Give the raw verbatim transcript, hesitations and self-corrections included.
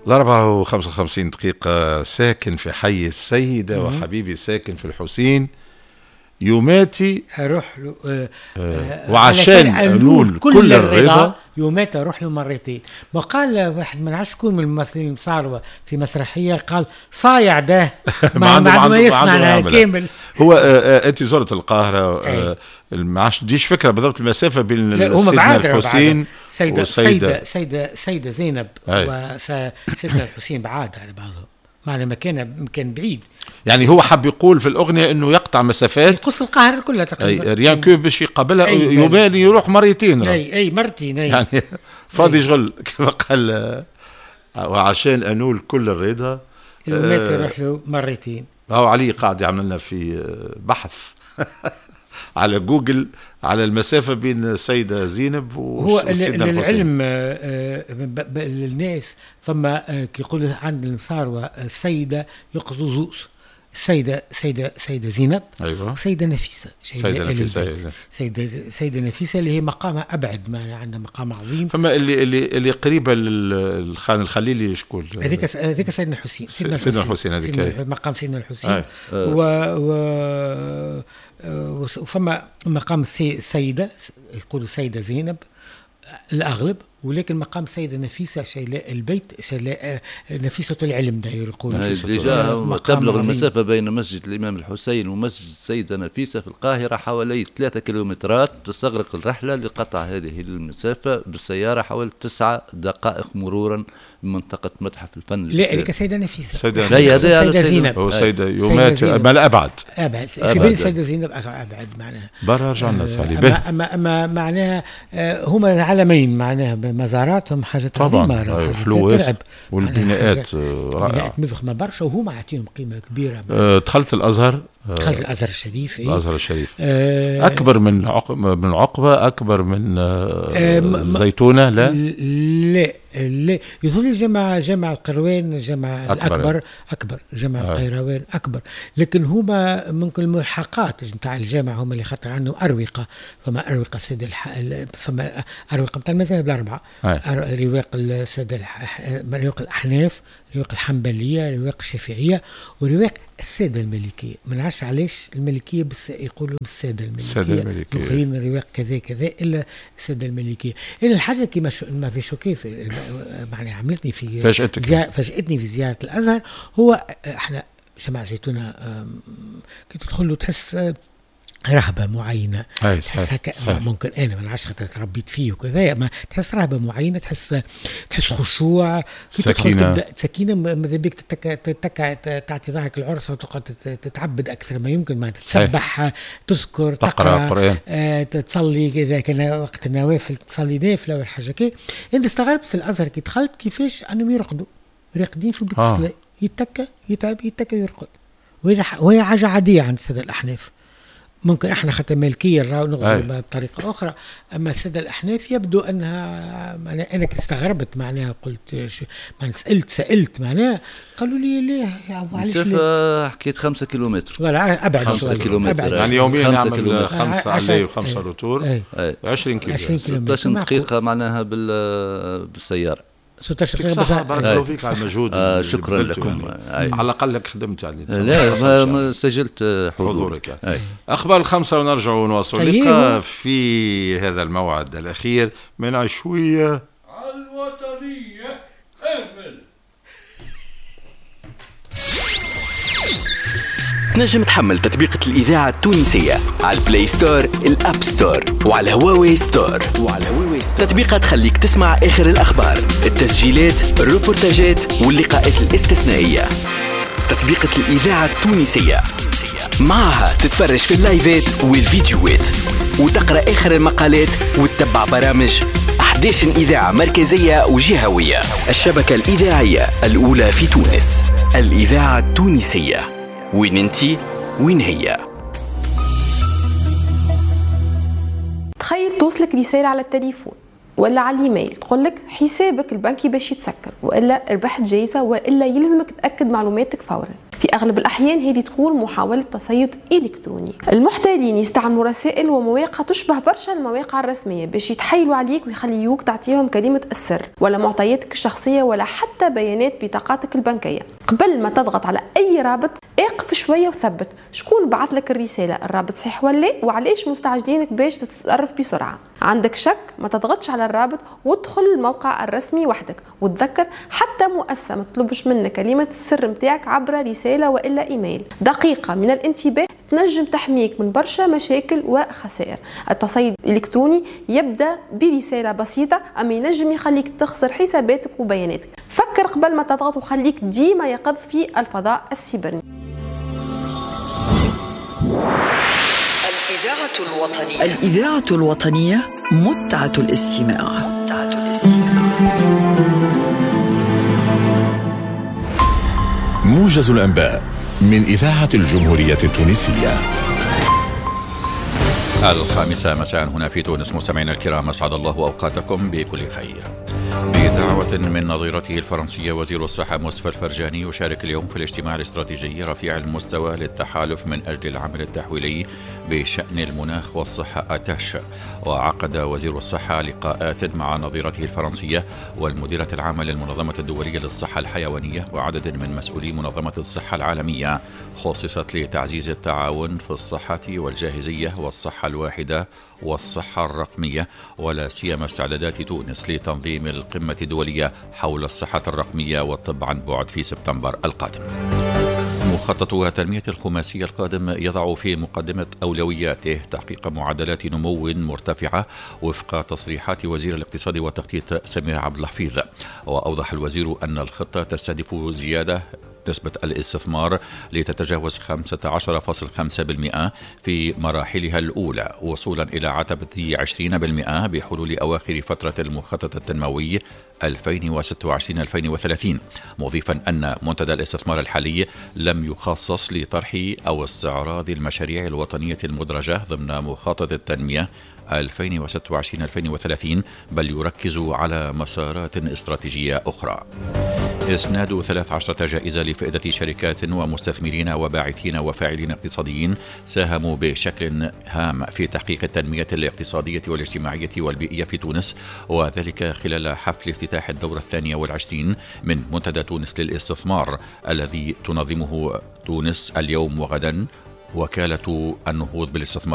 الأربعة وخمسة وخمسين دقيقة. ساكن في حي السيدة وحبيبي ساكن في الحسين، يوماتي اروح له آه آه وعشان انول كل, كل الرضا يوماتي اروح له مرتين. ما قال واحد من عشر شكون من الممثلين المصاروة في مسرحية، قال صايع ده ما عنده ما يصنع كامل. هو آه آه انت زرت القاهرة، آه ما عادش تديش فكرة بالضبط المسافة بين سيدنا الحسين سيدة سيدة سيدة سيدة زينب وسيدنا الحسين بعاد على بعضهم، معنى مكان مكان بعيد. يعني هو حب يقول في الأغنية إنه يقطع مسافات، يقص القاهرة كلها تقريبا، rien que باش يقابلها يبالي يروح مرتين. أي أي مرتين أي. يعني فاضي شغل كما قال، وعشان أنول كل الرضا يومات يروح له مرتين. هو علي قاعد يعمل لنا في بحث على جوجل على المسافة بين السيدة زينب وسيدنا الحسين. هو للعلم للناس فما كي يقولوا عند المصاروة السيدة يقصدوا زوز، السيدة سيدة سيدة زينب، أيوة. وسيدة نفيسة، سيدة نفيسة، سيدة سيدة نفيسة اللي هي مقامها أبعد، ما عندها مقام عظيم. فما اللي اللي اللي قريبة للخان الخليلي شكون؟ هذيك هذيك سيدنا الحسين، سيدنا الحسين هذيك مقام سيدنا الحسين. و و وفما مقام السيدة يقولوا سيدة زينب الأغلب، ولكن مقام السيدة نفيسة شيلاء البيت، شيلاء نفيسة العلم داير يقولوا. déjà تبلغ المسافة بين مسجد الإمام الحسين ومسجد السيدة نفيسة في القاهرة حوالي ثلاثة كيلومترات. تستغرق الرحلة لقطع هذه المسافة بالسيارة حوالي تسعة دقائق مرورا بمنطقة متحف الفن. لا هذيك السيدة نفيسة، سيدة سيدة زينب، هو سيدة يومات بل أبعد أبعد في بين السيدة زينب أبعد معناها. برا رجعنا سالي أما, أما, أما معناها هما علمين معناها مزاراتهم حاجة طبعا حلوة والبناءات رائعة، بناءات مضخمة برشا وهما عطيهم قيمة كبيرة. دخلت الأزهر، دخلت الأزهر الشريف. إيه؟ الأزهر الشريف آه أكبر من عقب من عقبة، أكبر من الزيتونة. لا لا لا يظل جامع جامع القروان جامع الأكبر أكبر جامع آه. القيروان أكبر، لكن هما ممكن الملحقات نتاع الجامع هما اللي خاطر عندهم أروقة. فما أروقة السادة الح... فما أروقة نتاع المذاهب الأربعة، آه. رواق السادة الح... رواق الأحناف، رواق الحنبلية، رواق الشافعية، ورواق السادة المالكية. ما نعرفش علاش المالكية بس يقولوا السادة المالكية، الآخرين رواق كذا كذا إلا السادة المالكية. إلا الحاجة كيما شو... ما في شوكي في معناها عملتني في فاجأتك زيارة... فاجأتني في زيارة الأزهر. هو احنا جماعة زيتونة كي تدخل له تحس رهبة معينة، تحس هكا ممكن أنا ما نعرفش خاطر تربيت فيه وكذا، ما تحس رهبة معينة، تحس تحس خشوع، سكينة سكينة، ماذا بيك تتكع تعطي ظهرك العرس وتقعد تتعبد أكثر ما يمكن، ما تسبح، تذكر، تقرأ قرآن، آه، تصلي إذا كان وقت النوافل تصلي نافلة ولا حاجة كي. أنت استغربت في الأزهر كي دخلت كيفاش أنهم يرقدوا، راقدين في بيت الصلاة، يتكى يتعب يتكى يرقد، وهي حاجة عادية عند السادة الأحناف. ممكن احنا خاطر مالكية نراو نغزر بطريقة أخرى، أما السادة الأحناف يبدو أنها معناها أنا استغربت معناها قلت معناها سألت سألت معناها قالوا لي ليه علاش ليه؟ حكيت خمسة كيلومتر ولا أبعد خمسة كيلومتر يعني يوميا نعمل خمسة aller وخمسة retour، عشرين كيلو، ستة عشر دقيقة معناها بالسيارة. ستة عشر دقيقة. بارك الله فيك على المجهود. آه شكرا لكم. يعني. على الأقل لك خدمت يعني. لا ما سجلت حضورك يعني. أخبار الخمسة ونرجع ونواصل اللقاء في هذا الموعد الأخير من عشوية الوطنية. أهمل تنجم تحمل تطبيقة الإذاعة التونسية على ال Play Store، ال App Store، وعلى هواوي Store. وعلى هواوي Store تطبيقة تخليك تسمع آخر الأخبار، التسجيلات، الروبورتاجات واللقاءات الاستثنائية. تطبيقة الإذاعة التونسية معها تتفرج في اللايفات والفيديوهات وتقرأ آخر المقالات وتتبع برامج أحد عشر إذاعة مركزية وجهوية. الشبكة الإذاعية الأولى في تونس، الإذاعة التونسية. وين انتي وين هي؟ تخيل توصلك رسالة على التليفون ولا على الايميل تقول لك حسابك البنكي باش يتسكر، والا ربحت جايزة، والا يلزمك تاكد معلوماتك فورا. في أغلب الأحيان هذه تكون محاولة تصيد إلكتروني. المحتالين يستعملوا رسائل ومواقع تشبه برشا المواقع الرسمية باش يتحايلوا عليك ويخليوك تعطيهم كلمة السر ولا معطياتك الشخصية ولا حتى بيانات بطاقاتك البنكية. قبل ما تضغط على أي رابط اقف شوية وثبت شكون بعث لك الرسالة، الرابط صحيح ولا لا، وعلاش مستعجلينك باش تتصرف بسرعة. عندك شك ما تضغطش على الرابط وادخل الموقع الرسمي وحدك، وتذكر حتى مؤسسة ما تطلبش منك كلمة السر متاعك عبر رسالة وإلا إيميل. دقيقة من الانتباه تنجم تحميك من برشا مشاكل وخسائر. التصيد الإلكتروني يبدأ برسالة بسيطة أما ينجم يخليك تخسر حساباتك وبياناتك. فكر قبل ما تضغط وخليك ديما يقظ في الفضاء السيبرني. الإذاعة الوطنية، الإذاعة الوطنية متعة الاستماع، متعة الاستماع. موجز الأنباء من إذاعة الجمهورية التونسية. الخامسة مساء هنا في تونس. مستمعينا الكرام، أسعد الله أوقاتكم بكل خير. بدعوة من نظيرته الفرنسية وزير الصحة مصطفى الفرجاني يشارك اليوم في الاجتماع الاستراتيجي رفيع المستوى للتحالف من أجل العمل التحويلي بشأن المناخ والصحة أتاش. وعقد وزير الصحة لقاءات مع نظيرته الفرنسية والمديرة العامة للمنظمة الدولية للصحة الحيوانية وعدد من مسؤولي منظمة الصحة العالمية، خصصت لتعزيز التعاون في الصحة والجاهزية والصحة الواحدة والصحة الرقمية، ولا سيما استعدادات تونس لتنظيم القمة الدولية حول الصحة الرقمية والطب عن بعد في سبتمبر القادم. مخطط التنمية الخماسية القادم يضع في مقدمة أولوياته تحقيق معدلات نمو مرتفعة وفق تصريحات وزير الاقتصاد والتخطيط سمير عبد الحفيظ. وأوضح الوزير أن الخطة تستهدف زيادة نسبة الاستثمار لتتجاوز خمسة عشر فاصل خمسة بالمئة في مراحلها الأولى، وصولا إلى عتبة عشرين بالمئة بحلول أواخر فترة المخطط التنموي ألفين وستة وعشرين ألفين وثلاثين، مضيفا أن منتدى الاستثمار الحالي لم يخصص لطرح أو استعراض المشاريع الوطنية المدرجة ضمن مخطط التنمية ألفين وستة وعشرين ألفين وثلاثين، بل يركز على مسارات استراتيجية أخرى. إسناد ثلاث عشرة جائزة لفائدة شركات ومستثمرين وباعثين وفاعلين اقتصاديين ساهموا بشكل هام في تحقيق التنمية الاقتصادية والاجتماعية والبيئية في تونس، وذلك خلال حفل افتتاح الدورة الثانية والعشرين من منتدى تونس للاستثمار الذي تنظمه تونس اليوم وغدا وكالة النهوض بالاستثمار.